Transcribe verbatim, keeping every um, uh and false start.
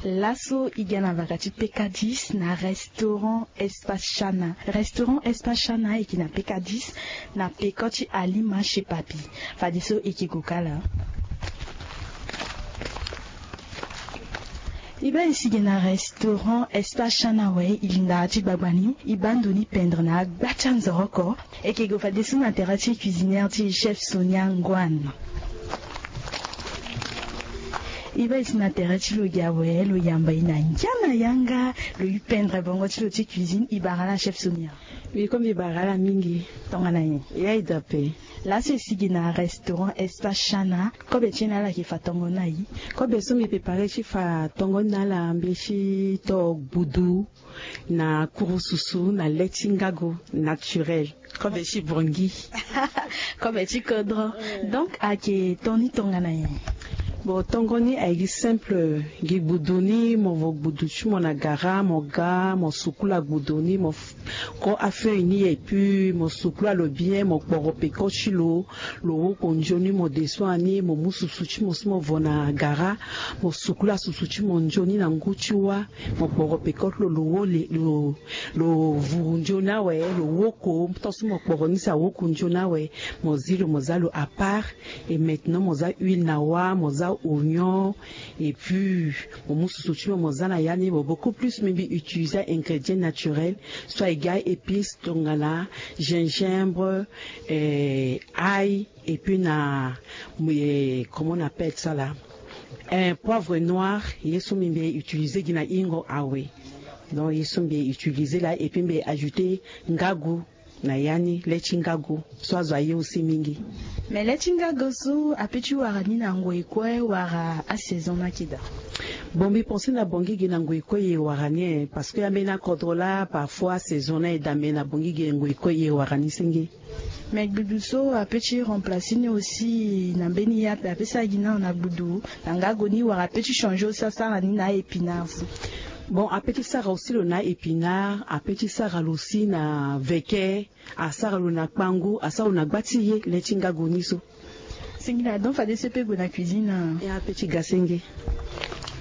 Laso e ga na vaka ti pekadis na restaurant Espace Chana. Restaurant Espace Chana e yeke na pekadis na peko ti Alima chez Papi. Fadeso e yeke gue kala. E baa e si ge na restaurant Espace Chana awe, e lingara ti gbagba ni, e baa ndo ni pendre na agba ti anzoroko. E yeke gue fadeso na tere ti cuisinière ti e, chef Sonia Ngoan. E baa e si na tere ti lo ge awe, lo yamba e na ngia na yanga, lo yu pendre bongo ti lo ti cuisine. E bara ala chef Sonia. Wi, ko mbi bara ala mingi. Tongana nyen? Ya e daa ape. Laso e si ge na restaurant Espace Chana, kobe ti e na ala yeke fa tongo ni na e? Kobe so mbi prépare ti fa tongo ni na ala, mbi si to gbudu na kurususu na le ti ngago naturel. Kobe ti bongi. Kobe ti kodro. Donc ayeke ton ni tongana nyen? Bon, tongo ni ayeke gi simple, gi gbudu ni, mo vo gbudu ti mo na gara, mo ga, mo sukula gbudu ni, mo f-, ko afeuille ni, et puis mo sukula lo bien, mo kporo peko ti lo, lo woko nzoni, mo desua ni, mo mu susu ti mo so mo vo na gara, mo sukula susu ti mo nzoni na ngu ti wâ, mo kporo peko ti lo, lo wo le, lo, lo vuru nzoni awe, lo woko, tant so mo kporo ni si awoko nzoni awe, mo zi lo, mo za lo à part. Et maintenant mo za huile na wâ, mo za oignon, et puis mo mu susu ti mo, mo za na ya ni. Mo beaucoup plus mbi, mbi utiliser ingrédients naturels, soit e ga épices tongana gingembre, euh, ail, et puis na, euh, comment on appelle ça là, un poivre noir. Ye so mbi, mbi utiliser gi na hingo awe. Donc ye so mbi utiliser laa, et puis mbi ajouter ngago na ya ni, le ti ngago so azo aye aussi mingi. Mais le ti ngago so apeut ti wara ni na ngoi kue wala asaison ni ayeke daa? Bon, mbi pense na bongi ge na ngoi kue e wara ni, eh, parce que ambeni akodro laa parfois asaison ni aye daa, mais na bongi ge ngoi kue e wara ni senge. Mais gbudu so apeut ti remplacer ni aussi na mbeni ye ape, apeut ti sara gi na lo na gbudu na ngago ni, wala apeut ti changer aussi asara ni na a-épinard so? Bon, apeut ti sara aussi lo na a-épinard, apeut ti sara lo aussi na veke, asara lo na kpangu, asara lo na gba ti ye, le ti ngago ni so. Singila, donc fadeso e peut gue na cuisine, ah? E, apeut ti ga senge.